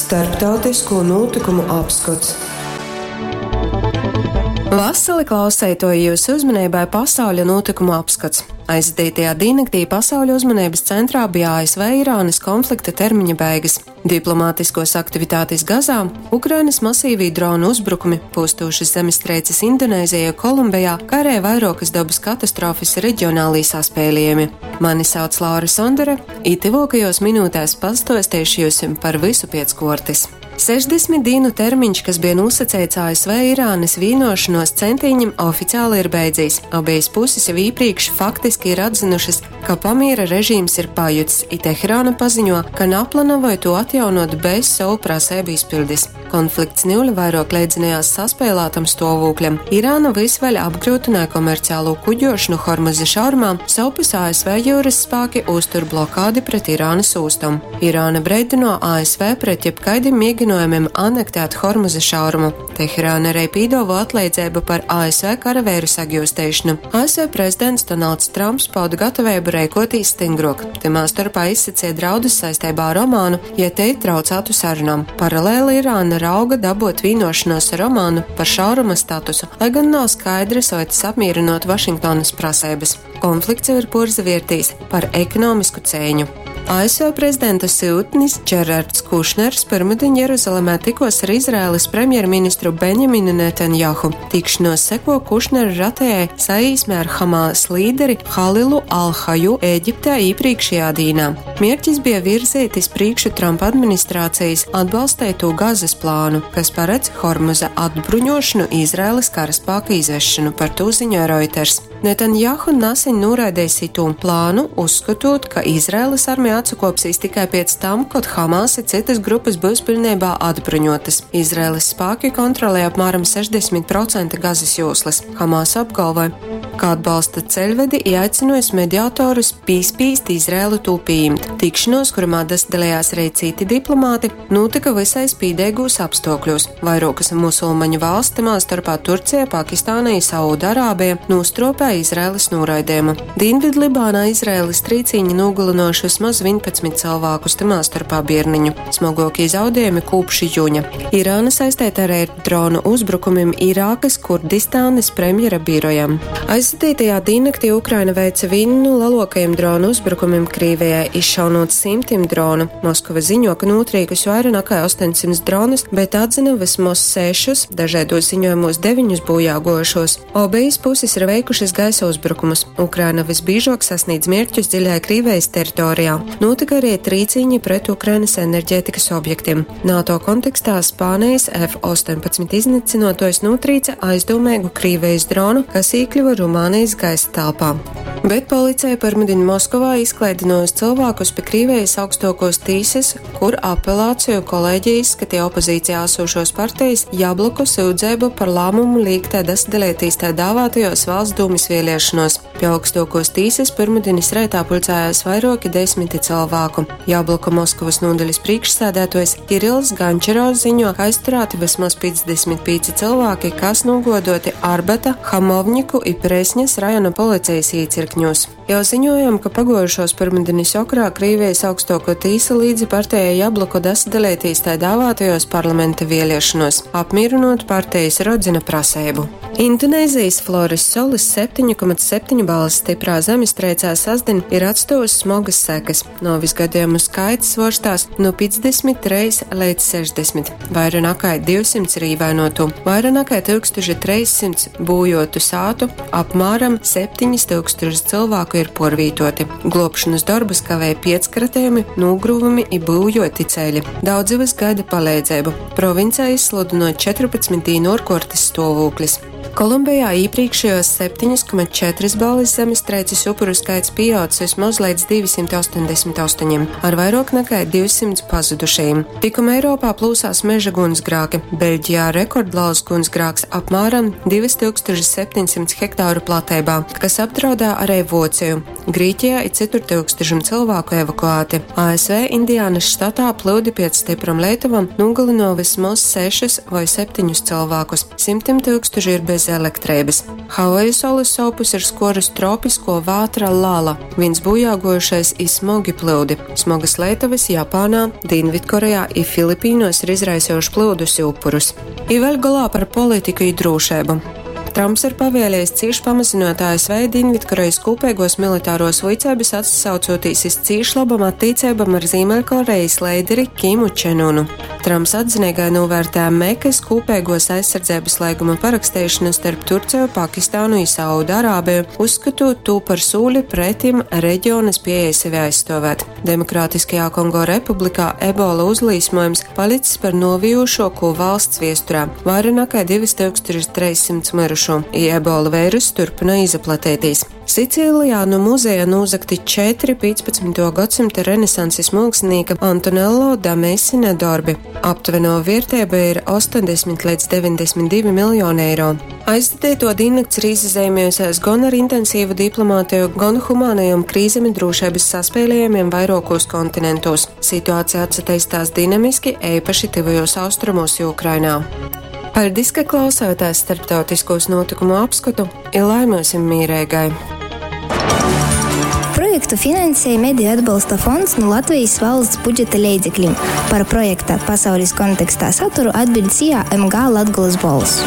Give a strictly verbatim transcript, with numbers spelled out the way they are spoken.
Starptautisko notikumu apskats. Vasali klauseitoji jūsu uzmanībai pasauļa notikumu apskats. Aizvadītajā diennaktī pasauļa uzmanības centrā bija A S V Irānas konflikta termiņa beigas, diplomātiskos aktivitātes Gazā, Ukrainas masīvī dronu uzbrukumi, postošas zemestrīces Indonēzijā, Kolumbijā, kā arī vairākas dabas katastrofas reģionālī saspēlījumi. Mani sauc Laura Sondere, i tuvākajos minūtēs pastostiešu jums par visu piec kuortys. sešdesmit dienu termiņš, kas bija nosacīts A S V Irānas vienošanos centīņam, oficiāli ir beidzies. Abas puses jau iepriekš faktiski ir atzinušas, ka pamiera režīms ir pajucis, i Teherāna paziņo, ka naplānoja to atjaunot bez savu prasību izpildes. Konflikts niule vairāk leidzinājās saspēlētam stāvokļam. Irāna vys vēļ apgrūtināja komerciālo kuģošanu Hormuza šaurumā, sovpus A S V jūras spēki uztur blokādi pret Irānas ūstom. Irāna breidino A S V pret jebkaidim mēģinājumiem anektēt Hormuza šaurumu. Teherāna arī pīdovo atleidzēbu par A S V karavēru sagjūstēšanu. A S V prezidents Donalds Trumps pauda gatavību rēkotīs stingrok. Tymā starpā izsacīja draudus saistībā ar Omānu, ja te traucētu sarunām. Paralēli Irāna rauga dabot vienošanos ar Omānu par šauruma statusu, lai gan nav skaidrs, vai tas apmierinot Vašingtonas prasības. Konflikts jau ir porzaviertīs par ekonomisku cēņu. A S V prezidenta sūtnis Džerards Kušners pirmdien Jeruzalemē tikos ar Izraēlas premjerministru Benjaminu Netanjahu. Tikšanos seko Kušnera ratējai saīsmē ar Hamas līderi Halilu Al-Haju Ēģiptē iepriekšējā dīnā. Mērķis bija virzīt iz priekšu Trumpa administrācijas atbalstēto Gazas plānu, kas paredz Hormuza atbruņošanu, Izraēlas karaspēka izvešanu, par to ziņoja Reuters. Netanjahu nesen noraidījis itū plānu, uzskatot, ka Izraēlas armija atsakopsīs tikai pēc tam, kad Hamas i citas grupas būs pilnībā atbruņotas. Izraēlas spēki kontrolē apmēram sešdesmit procenti Gazas joslas. Hamas apgalvoja, ka atbalsta ceļvedi i aicinājis mediatorus pīspīst Izraēlu tū pieņemt. Tikšanos, kurumā dalījās arī citi diplomāti, notika visai spīdīgos apstākļos. Vairākas musulmaņu valsts, tamā starpā Turcija, Pakistāna i Saūda-Arābija, nostropēja Izraēlas noraidījumu. Dienvidlibānā Izraēlas trīcīņi nogalinoši vismaz vienpadsmit cilvēkus, tamā starpā bierniņu. Smagākie zaudējumi kopš jūņa. Irāna saistīta arī ar dronu uzbrukumiem Irākas Kurdistānas premjera birojam. Aizvadītajā diennaktī Ukraina veica vienu no lielākajiem dronu uzbrukumiem Krievijai, izšaunot simtiem dronu. Moskava ziņo, ka notrīkus vairāk nekā astoņsimtus dronus, bet atzina vismaz sešus, dažādos ziņojumos deviņus bojā gojušos. Obejas puses ir veikušas gaisa uzbrukumus. Ukraina visbiežāk sasniedz mērķus dziļā Krievijas teritorijā. Notika arī trīcīņi pret Ukrainas enerģētikas objektiem. NATO kontekstā Spānijas F astoņpadsmit iznīcinotojs notrīca aizdomīgu Krievijas dronu, kas iekļuva Rumānijas gaisa telpā. Bet policija pirmdien Moskovā izklaidinājusi cilvēkus pie Krievijas augstākos tīsas, kur apelāciju kolēģija izskatīja opozīcijā esošos partijas Jabloko sūdzību par lēmumu līgtē dasadalītīs tā dāvātajos valsts dūmis vēlēšanos. Pie augstākos tīsas pirmdienas reitā pulcējās vairāki desmiti cilvēku. Jabloko Moskavas nodaļas priekšsēdētājs Kirils Gančerovs ziņo, ka aizturēti vismaz piecdesmit pieci cilvēki, kas nogodoti Arbata, Hamovņiku i Presņas rajona policijas īcirkņos. Jau ziņojam, ka pagojušos pirmdienas okrā Krievijas augstāko tīsa līdzi partijai Jabloko dasadalītīs tā dāvātajos parlamenta vēlēšanos, apmierinot partijas Rodzina prasību. Indonēzijas Flores solis septiņu komats septiņu balvas stiprā zemestrīcē sasdien ir atstājusi smagas sekas. Nuovis gadījumu skaits svorstās no piecdesmit trīs līdz sešdesmit, vairāk nekā divsimt ir ievainotu, vairāk nekā tūkstoš trīssimt būjotu sātu, apmēram septiņi tūkstoši cilvēku ir porvītoti. Globšanas darbus kavēja piecskratējumi, nogruvumi i būjoti ceļi. Daudzi vis gaida palīdzību. Provincē izsludinot četrpadsmit dienu ārkārtas stāvoklis. Kolumbijā iepriekšējos septiņas komats četras balvas zemestrīces upuru skaits pieaudzis vismaz līdz divsimt astoņdesmit astoņiem, ar vairāk nekā divsimt pazudušajiem. Tikuma Eiropā plūsās meža gunsgrāki. Beļģijā rekordliels gunsgrāks apmēram divus tūkstošus septiņsimtus hektāru platībā, kas apdraudē arī Vociju. Grieķijā ir citur tūkstošiem cilvēku evakuēti. A S V Indiānas štatā plūdi pēc stipram leitavam nogalino vismaz sešus vai septiņus cilvēkus. Simtiem tūkstoši ir bez bez elektreibys. Havaju solys sovpus ir skuorus tropiskuo vātra Lala, vīns būjāguojušais i smogi plyudi. Smogys leitovys Japānā, Dīnvidkorejā i Filipīnuos ir izraisejušs plyudus i upurus. I vēļ golā par politiku i drūšeibu. Trumps ir pavieliejs cīš pamazynuot A S V Dīnvidkorejis kūpeiguos militaruos vuiceibys, atsasaucūtīs iz cīš lobom attīceibom ar Zīmeļkorejis leideri Kimu Čenunu. Trumps atzineigai nūvērtēja Mekys kūpeiguos aizsardzeibys leiguma paraksteišonu starp Turceju, Pakistānu i Saudu Arābeju, uzskatūt tū par sūli pretim reģiona spiejai sevi aizstuovēt. Demokrātiskajā Kongo Republikā ebola uzlīsmojums palicis par nuoviejūšuokū valsts viesturē – vaira nakai divi tūkstoši treisdesmit myrušū, i ebola veiruss turpynoj izaplateitīs. Sicīlijā nu muzeja nūzagti četri pīcpadsmytuo godsymta renesansis muokslinīka Antonello da Messina dorbi. Aptuvenuo vierteiba ir ostoņdesmit leidz deveņdesmit divi miljoni eiro. Aizvadeituo dīnnakts ir īsazeimējusies gon ar intensīvu diplomātiju, gon humānajom krīzem i drūšeibys saspīlejumiem vairuokūs kontinentūs. Situācija atsateistās dinamiski, eipaši Tyvajūs Austrumūs i Ukrainā. Paļdis, ka klausāties starptautiskūs nūtykumu apskotu, i lai myusim mīreigai! Projektu finansēja Mediju atbalsta fonds nu Latvejis valsts budžeta leidzeklim. Par projekta Pasaulis kontekstā saturu atbiļd S I A M G Latgolys Bolss.